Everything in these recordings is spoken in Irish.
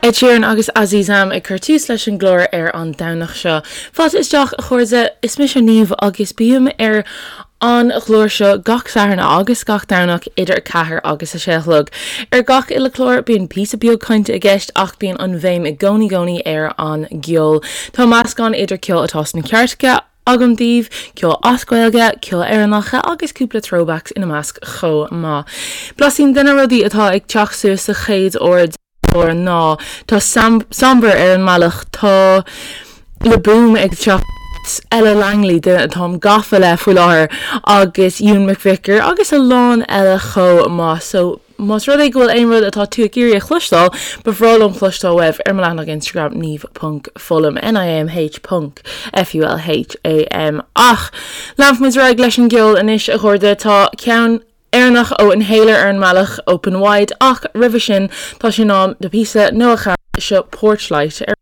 Ed Sheeran agus Azizam ag cur tús leis an gclár ar an Domhnach seo. Fáilte isteach, a chairde, is mise Niamh agus bím ar an gclár seo gach Satharn agus gach Domhnach idir 4 agus 6 a chlog. Ar gach uile chlár bíonn píosa beag cainte i gceist ach bíonn an bhéim i gcónaí gcónaí ar an gceol. Tá meascán idir ceol atá sna cairteacha, agam daoibh, ceol as Gaeilge, ceol Éireannacha agus cúpla throwbacks ina measc chomh maith. Blaisín de na rudaí atá ag teacht suas sa chéad uair den chlár ná tá Sombr ar an mbealach, tá Le Boom ag teacht, Ella Langley, duine atáim gafa le faoi láthair, agus Ewan McVicar agus a lán eile chomh maith. So. Más rud é go bhfuil aon rud atá tú ag iarraidh a chloisteáil, ba bhreá liom cloisteáil uaibh ar mo leathanach Instagram niamh ponc fulham, N-I-A-M-H ponc F-U-L-H-A-M. Ach leanfaimid ar aghaidh leis an gceol anois, a chairde. Tá ceann Éireannach ó Inhaler ar an mbealach, Open Wide, ach roimhe sin tá sé in am do phíosa Noah Kahan, seo Porchlight ar.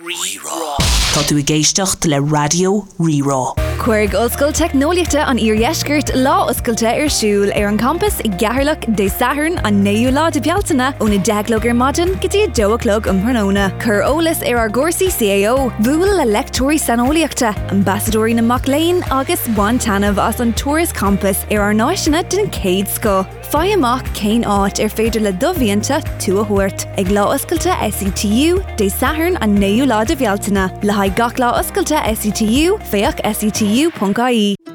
Rí-Rá. Tá tú ag éisteacht le Raidió Rí-Rá. Cuirfidh Ollscoil Teicneolaíochta an Iardheiscirt lá oscailte ar siúl ar an champas i gCeatharlach Dé Sathairn an 9ú lá de Bhealtaine ón 10 a chlog ar maidin go dtí 2 a chlog um thráthnóna. Cuir eolas ar ár gcúrsaí CAO, buail le leicteoirí saineolaíochta, ambasadóirí na mac léinn agus bain taitneamh as an turas campais ar ár n-áiseanna den chéad scoth. Faigh amach cén áit ar féidir le do mhianta tú a thabhairt ag Lá Oscailte SETU, Dé Sathairn an 9ú lá de Bhealtaine. Le haghaidh gach lá oscailte SETU, féach setu.ie.